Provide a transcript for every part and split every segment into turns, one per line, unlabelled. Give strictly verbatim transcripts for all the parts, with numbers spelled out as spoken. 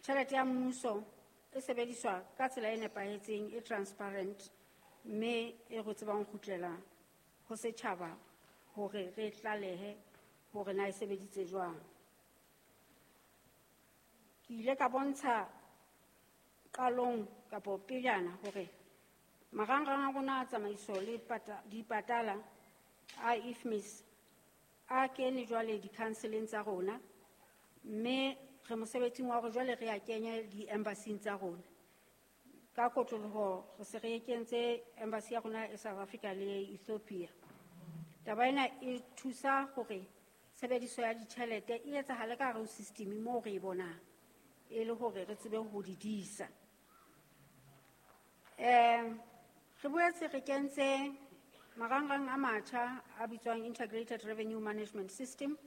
tjhelete ya mmuso e sebediswa ka tsela e nepahetseng, e transparent, mme e re tsebang ho kgutlela ho setjhaba hore re tlalehe hore na e sebeditse jwang. Ke ile ka bontsha qalong kapo pejana hore marangrang a rona a tsamaiso le pata-, dipatala a I F M I S a kene jwale di-counseleng tsa rona, mme re mosebetsing wa hore jwale re a kenye di-embassy-ing tsa rona. Ka kotloloho re se re kentse embassy ya rona e South Africa le Ethiopia. Taba ena e thusa hore tshebediso ya ditjhelete e etsahale ka hare ho system moo re e bonang, e le hore re tsebe ho di disa. Eh, re boetse re kentse marangrang a matjha a bitswang Integrated Revenue Management System,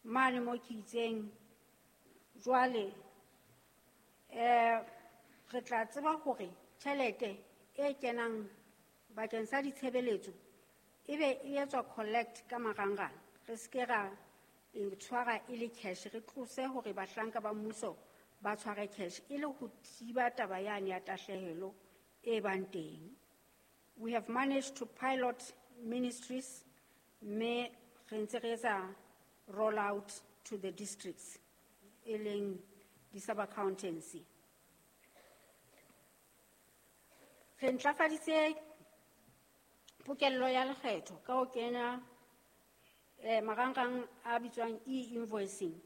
mane mo ke itseng jwale, eh, re tla tseba hore tjhelete e kenang bakeng sa ditshebeletso ebe e etswa collect ka marangrang, re se ke ra e tshwara e le cash, re tlose hore bahlanka ba mmuso ba tshware cash e le ho thiba taba yane ya tahlehelo e bang teng. We have managed to pilot ministries, mme re ntse re etsa roll out to the districts, e leng di-sub-accountancy. Re ntlafaditse pokello ya lekgetho ka ho kenya, eh, marangrang a bitswang e-invoicing,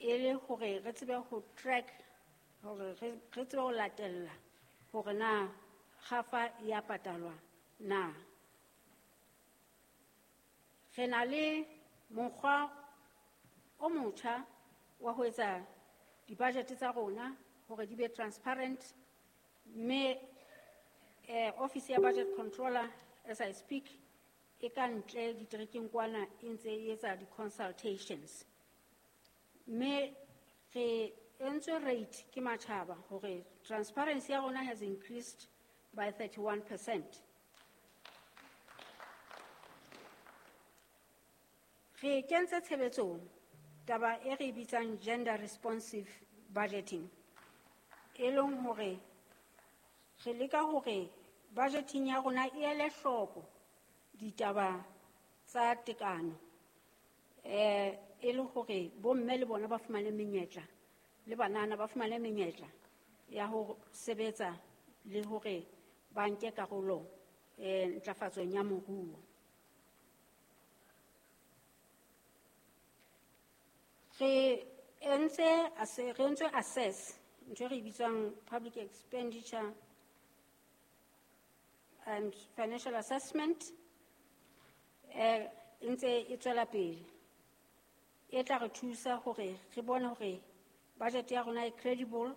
e le hore re tsebe ho track, hore re, re tsebe ho latella hore na kgafa ya patalwa na. Re na le mokgwa o motjha wa ho etsa di-budget tsa rona hore di be transparent, mme, eh, office ya budget controller, as I speak, e ka ntle diterekeng kwana e ntse e etsa di-consultations. Mme re entswe rate ke matjhaba hore transparency ya rona has increased by thirty-one percent. Re kentse tshebetsong taba e re bitsang gender responsive budgeting, e leng hore re leka hore budgeting ya rona e ele hloko ditaba tsa tekano, eh, e le hore bomme le bona ba fumane menyetla, le banana ba fumane menyetla ya ho sebetsa le hore ba nke karolo, eh, ntlafatsong ya moruo. Re entse asse-, re entse assess ntho e re bitswang public expenditure and financial assessment, eh, e ntse e tswela pele. E tla re thusa hore re bone hore budget ya rona e credible,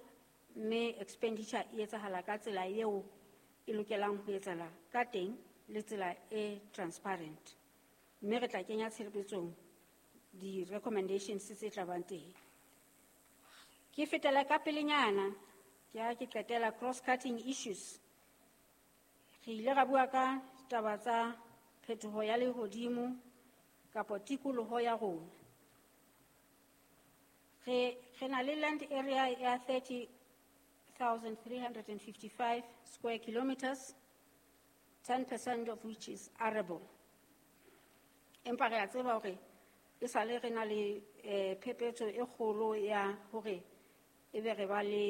mme expenditure e etsahala ka tsela eo e lokelang ho etsahala ka teng le tsela e transparent. Mme re tla kenya tshebetsong di-recommendations tse tla bang teng. Ke fetela ka pelenyana, ke ha ke qetela cross-cutting issues. Re ile ra bua ka taba tsa phetoho ya lehodimo kapa tikoloho ya rona. Re, re na le land area ya thirty thousand three hundred and fifty-five square kilometers, ten percent of which is arable. Empa re a tseba hore e sale re na le, eh, phephetso e kgolo ya hore ebe re ba le